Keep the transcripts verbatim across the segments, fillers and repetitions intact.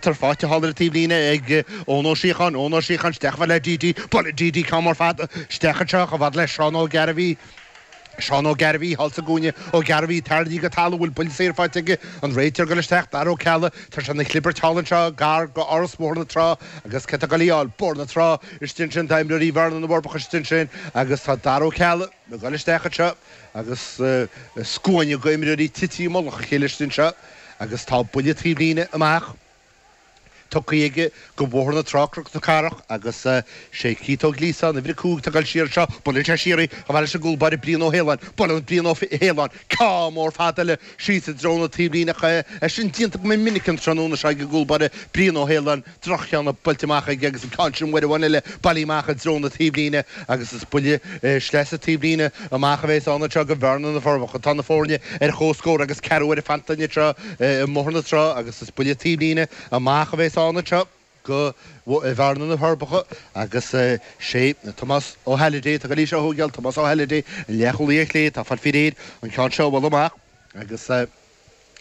Tar faighte thall ar an taobhlíne ag Eoin Ó Síocháin, Eoin Ó Síocháin isteach chomh fada le DD, buaileann DD ceann mór fada isteach anseo chomh fada le Seán Ó Gairbhí. Seán Ó Gairbhí thall sa gcúinne, Ó Gairbhí tarraingthe go talamh, bhfuil buille saor faighte aige, an réiteoir ag dul isteach, Dara Ó Ceallaigh, tá sé ina chlibirt thall anseo gar go Áras Bhóthar na Trá agus cé atá ag dul í a fháil? Bóthar na Trá istigh ansin, tá imreoirí Bhearna na bhForbacha istigh ansin agus tá Dara Ó Ceallaigh ag dul isteach anseo agus scuaine go imreoirí tite i mullach a chéile istigh anseo agus tá buille taobhlíne amach. Tugtha aige go Bóthar na Trá Cnoc na Cathrach agus sé Keith Ó Gliasáin, uimhir a cúig, atá ag dul siar anseo. Buaileann sé siar í chomh fada leis an gcúl báire Brian Ó hAoláin. Buaileann Brian Ó hAoláin ceann mór fada eile síos i dtreo na taobhlíne ach é sin déanta go minic an tráthnóna seo ag an gcúl báire Brian Ó hAoláin. Droch-cheann buailte amach aige agus an ceann sin uair amháin eile bailithe amach i dtreo na taobhlíne agus is buille sleasa taobhlíne amach a bheas ann anseo go Bhearna na bhForbacha. Tá na foirne ar comhscór agus ceathrú uaire fanta anseo i mBóthar na Trá agus is buille taobhlíne amach a bheas ann anseo go Bhearna na bhForbacha agus sé Tomás Ó hAlliday atá ag dul í seo a thógáil, Tomás Ó hAlliday, an leathchúlaí ar chlé, atá ag fáil faoi réir an ceann seo a bhualadh amach agus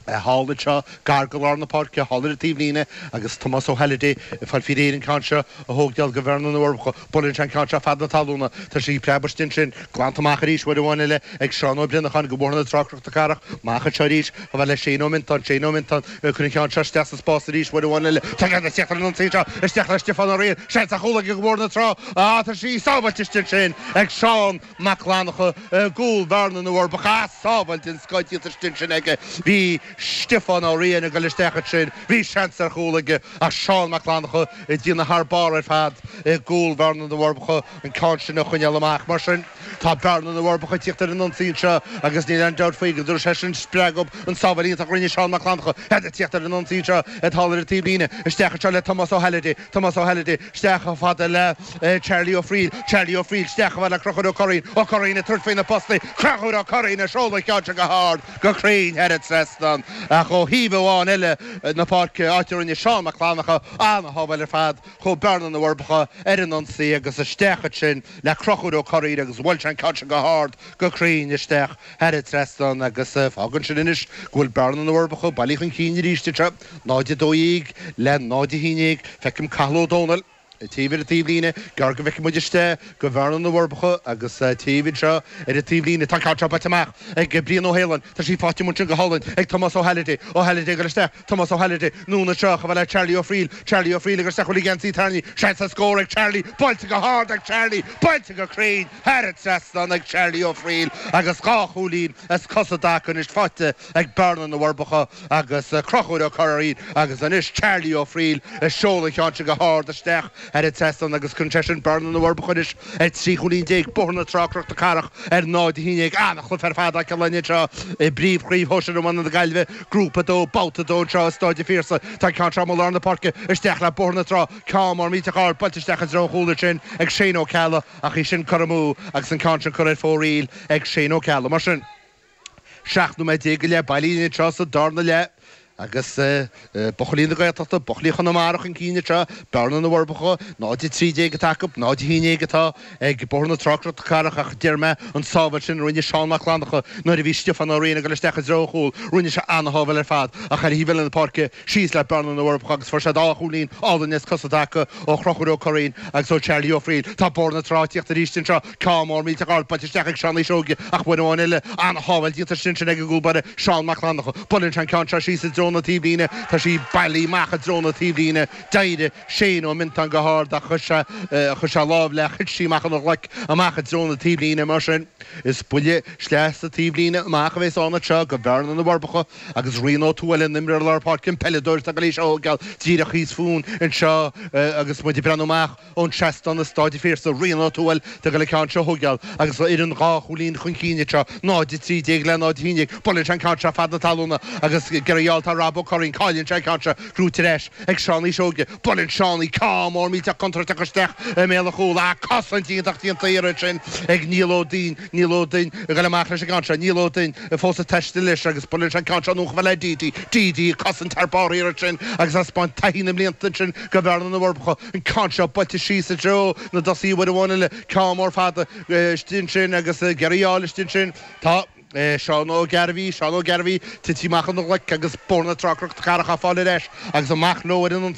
thall anseo gar go lár na páirce, thall ar an taobhlíne agus Tomás Ó hAlliday ag fáil faoi réir an ceann seo a thógáil go Bhearna na bhForbacha. Buaileann sé an ceann seo fad na talúna, tá sí ag preabadh istigh ansin, glanta amach arís uair amháin eile ag Seán Ó Brionacháin go Bóthar na Trá Cnoc na Cathrach. Amach anseo arís chomh fada le Shane Ó Mintáin, Shane Ó Mintáin ag cur an cheann seo isteach sa spás arís uair amháin eile. Tá sé ag tíocht ar an ionsaí anseo, isteach le Stiofán Ó Riain, seans ar chúl aige go Bóthar na Trá. Ah, tá sí sábháilte istigh ansin ag Seán Mac Fhlannchadha i gcúl Bhearna na bhForbacha. Ah, sábháil den scoth déanta istigh ansin aige. Bhí Stiofán Ó Riain ag dul isteach ansin, bhí seans ar chúl aige ach Seán Mac Fhlannchadha ag déanamh thar barr ar fad i gcúl Bhearna na bhForbacha an ceann sin a choinneáil amach. Mar sin, tá Bearna na bhForbacha ag tíocht ar an ionsaí anseo agus níl aon dabht faoi go dtabharfaidh sé sin spreagadh an tsábháil iontach a rinne Seán Mac Fhlannchadha. Iad ag tíocht ar an ionsaí anseo thall ar an taobhlíne. Isteach anseo le Tomás Ó hAlliday. Tomás Ó hAlliday isteach chomh fada le Charlie Ó Frighil. Charlie Ó Frighil isteach chomh fada le Conchúr Ó Curraoin. Ó Curraoin ag tabhairt faoi na postaí. Conchúr Ó Curraoin ag seoladh an cheann seo go hard, go cruinn thar an trasnán. Ach ó thaobh amháin eile na páirce, áit a rinne Seán Mac Fhlannchadha an-shábháil ar fad, chuaigh Bearna na bhForbacha ar an ionsaí agus isteach ansin le Conchúr Ó Curraoin agus bhuail sé an ceann sin go hard, go cruinn isteach thar an trasnán agus fágann sin anois go bhfuil Bearna na bhForbacha bailithe chun cinn arís anseo, náid a dó dhéag le náid a haon déag. Feicim Cathal Ó Dónaill taobh ar an taobhlíne, gearr go bhfeicfidh muid isteach go Bhearna na bhForbacha agus taobh anseo ar an taobhlíne tá an ceann seo buailte amach ag Brian Ó hAoláin, tá sí faighte ansin go hálainn ag Tomás Ó hAlliday, Ó hAlliday ag dul isteach, Tomás Ó hAlliday, anonn anseo chomh fada le Charlie Ó Frighil, Charlie Ó Frighil ag dul isteach bhfuil a gheansaí tarraingthe, seans ar scór ag Charlie, buailte go hard ag Charlie, buailte go cruinn thar an trasnán ag Charlie Ó Frighil agus dhá chúilín as cos i dtaca anois faighte ag Bearna na bhForbacha agus Conchúr Ó Curraoin agus anois Charlie Ó Frighil ag seoladh an cheann sin go hard isteach thar an trasnán agus cuireann sé sin Bearna na bhForbacha anois ar trí chúilín déag, Bóthar na Trá Cnoc na Cathrach ar náid a haon déag. An-chluiche ar fad á cheiliúradh anseo i bPríomhchraobh Shóisir Iomána na Gaillimhe, Grúpa a dó, Babhta a dó anseo i Stáid an Phiarsaigh. Tá an ceann seo amuigh i lár na páirce, isteach le Bóthar na Trá, ceann mór millteach ard buailte isteach i dtreo an chúil ansin ag Shane Ó Ceallaigh ach í sin curtha amú agus an ceann sin curtha ar fóraoil ag Shane Ó Ceallaigh. Mar sin, seacht nóiméad déag go leith bailithe anseo sa darna leath agus buachaillí na Gaeltachta, buachaillí Chonamara chun cinn anseo, Bearna na bhForbacha, náid a trí déag atá acu, náid a haon déag atá ag Bóthar na Trá Cnoc na Cathrach ach deir mé an tsábháil sin a rinne Seán Mac Fhlannchadha nuair a bhí Stiofán Ó Riain ag dul isteach i dtreo an chúil, rinne sé ana-shábháil ar fad ach ar thaobh eile na páirce síos le Bearna na bhForbacha agus fuair siad dhá chúilín álainn as cosa i dtaca ó Chonchúr Ó Curraoin agus ó Charlie Ó Frighil. Tá Bóthar na Trá ag tíocht arís anseo, ceann mór millteach ard buailte isteach ag Seánie Seoige ach uair amháin eile ana-shábháil déanta ansin ag an gcúl báire Seán Mac Fhlannchadha. Buaileann sé an ceann seo síos i dtreo na taobhlíne, tá sí bailithe amach i dtreo na taobhlíne. D'éirigh Shane Ó Mintáin go hard ach chuir sé chuir sé lámh léi ach thit sí amach óna ghlaic amach i dtreo na taobhlíne. Mar sin, is buille sleasa taobhlíne amach a bheas ann anseo go Bhearna na bhForbacha agus Rian Ó Tuathail, an imreoir lár páirce, an peileadóir atá ag dul í seo a thógáil díreach thíos fúinn anseo agus muid ag breathnú amach ón seastán i Stáid an Phiarsaigh. Rian Ó Tuathail atá ag dul an ceann seo a thógáil agus an fhoireann dhá chúilín chun cinn anseo, náid a trí déag le náid a haon déag. Buaileann sé an ceann seo fad na talúna agus ag iarraidh a fháil tá Rob Ó Curraoin, cailleann sé an ceann seo, gnóthaithe ar ais ag Seánie Seoige. Buaileann Seánie ceann mór millteach contúirteach isteach i mbéal an chúil. Ach cosaint iontach déanta iarraidh sin ag Niall Ó Duinn. Niall Ó Duinn ag dul amach leis an gceann seo. Niall Ó Duinn fós ag taisteal leis agus buaileann sé an ceann seo anonn chomh fada le DD. DD ag cosaint thar barr iarraidh sin agus ag taispeáint taithí na mblianta ansin go Bhearna na bhForbacha. An ceann seo buailte síos i dtreo na dtosaithe uair amháin eile. Ceann mór fada istigh ansin agus ag iarraidh a fháil istigh ansin. Tá. Seán Ó Gairbhí Seán Ó Gairbhí tite amach ina ghlaic agus Bóthar na Trá Cnoc na Cathrach á fáil ar ais agus amach leo ar an